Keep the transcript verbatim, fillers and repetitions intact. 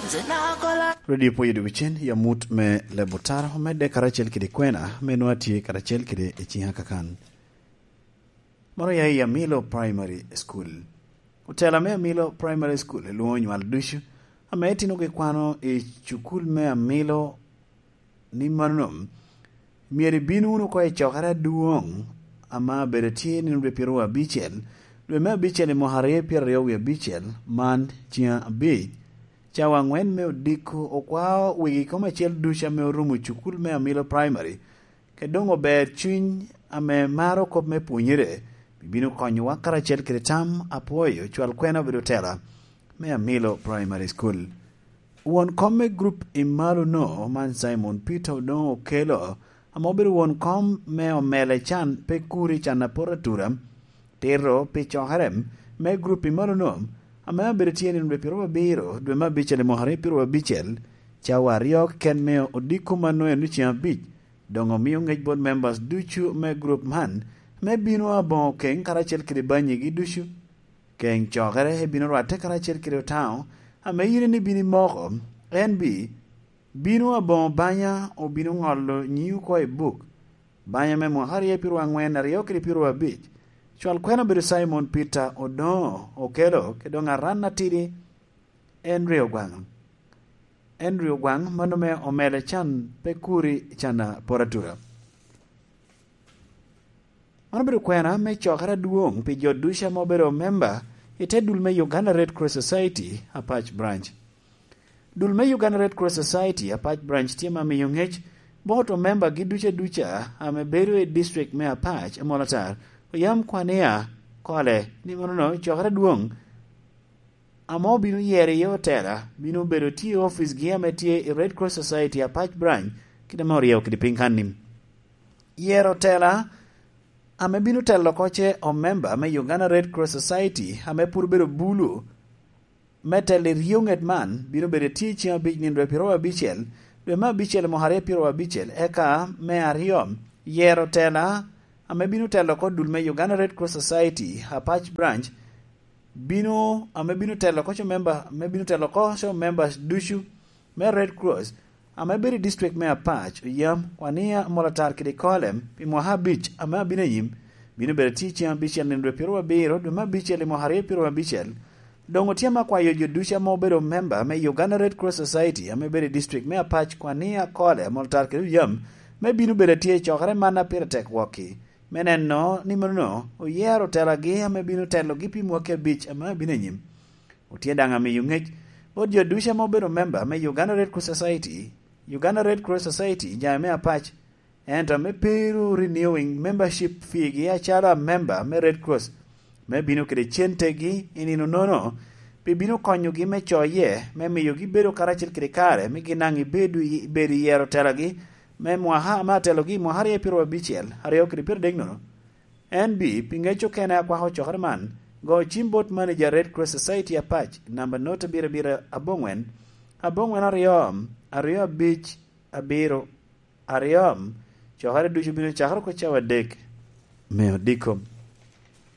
Radio Pwoyo Dugicen, yamut me Lebutaro, omedde karacel kede kwena, me nwa tye karacel kede i ciŋa kakan. Moro ya i Amilo Primary School. Otela me Amilo Primary School elwoŋo nywal ducu, ame itinogi kwano i cukul me Amilo ni mano, myero ibin wunu oko i cokere adwoŋ, ame abedo tye nino dwe pyeraryo abicel, dwe me abicel i mwaka aryo pyeraryo wie abicel, man ciŋ abic, cawa aŋwen me odiko, okwao wegi kom acel ducu ame orumo cukul me Amilo Primary, kede doŋ ober cuny ame maro kop me pwonyere, bibino konyowa karacel kede tam apwoyo cwal kwena obedo tela me Amilo Primary School. Won kom me grup i malo-no, man Simon Peter Odongo Okelo, ame obedo won kom me omele can pe kuri can apot atura, tito pi cokere me grup i malo-no, ame abedo tye nino dwe pyeraryo abiro dwe me abicel i mwaka aryo pyeraryo abicel, cawa aryo keken me odiko mano eno ciŋ abic, doŋ omio ŋec bot members ducu me grup man, me bino aboŋo keŋ karacel kede banyigi ducu. Keŋ cokere ebino rwatte karacel kede Otaŋo, ame yin en ibino imoko, en bi, bino aboŋo banya, obino ŋolo nyiŋi oko i buk. Banya me mwaka aryo pyeraryo aŋwen, aryo kede pyeraryo abic, cwal kwena obedo Simon Peter Odongo Okelo, kede doŋ aran atidi, Henry Ogwaŋ. Henry Ogwaŋ, mano me omele can pe kuri can apot atura. Man obedo kwena me cokere adwoŋ pi jo ducu ame obedo memba i te dul me Uganda Red Cross Society Apac Branch. Dul me Uganda Red Cross Society Apac Branch tye ma miyo ŋec bot omembagi ducu aduca ame bedo i district me Apac, Amolatar, Oyam, Kwania, Kole, ni mano cokere adwoŋ ame obino yero iye otela, bino bedo tye i oficgi ame tye i Red Cross Society Apac Branch, kit ame oryeyo kede piny kanni. Yero otela ame bino telo oko ce omemba me Uganda Red Cross Society ame pwod obedo bulu me telo i ryo ŋet man, bino bedo tye i ciŋ abic nino dwe pyeraryo abicel, dwe me abicel i mwaka aryo pyeraryo abicel, eka me aryo, yero otela ame bino telo oko dul me Uganda Red Cross Society Apac Branch, bino, ame bino telo oko co member, ame bino telo oko co members ducu me Red Cross, ame bedo i district me Apac, Oyam, Kwania, Amolatar kede Kolem, pi mwaka abic ame abino anyim, bino bedo tye i ciŋ abicel nino dwe pyeraryo abiro dwe me abicel i mwaka aryo pyeraryo abicel. Doŋ otye ame akwayo jo ducu ame obedo member me Uganda Red Cross Society ame bedo i district me Apac, Kwania, Kole, Amolatar kede Oyam, me bino bedo atye i cokere man a pire tek wokki, me neno ni mano oyero otelagi ame bino telogi pi mwaki abic ame abino anyim. Otye daŋ amiyo ŋec bot jo ducu ame obedo member me Uganda Red Cross Society, Uganda Red Cross Society, jami me Apac, ento ame pe ru renewing membership feegi acalo amemba me Red Cross, me bino kede centegi i nino nono, pi bino konyogi me coye, me miyogi bedo karacel kede kare, me gin daŋ ibedo i, ibedo i yero telagi, me mwaka ame atelogi i mwaka aryo pyeraryo abicel, aryo kede pyeradek nono. En bi, pi ŋec okene akwako cokere man, go cim bot manager Red Cross Society Apac, namba not abiro abiro aboŋwen, aboŋwen aryo, aryo abic, abiro, aryo, cokere ducu bino cakere oko cawa adek me odiko.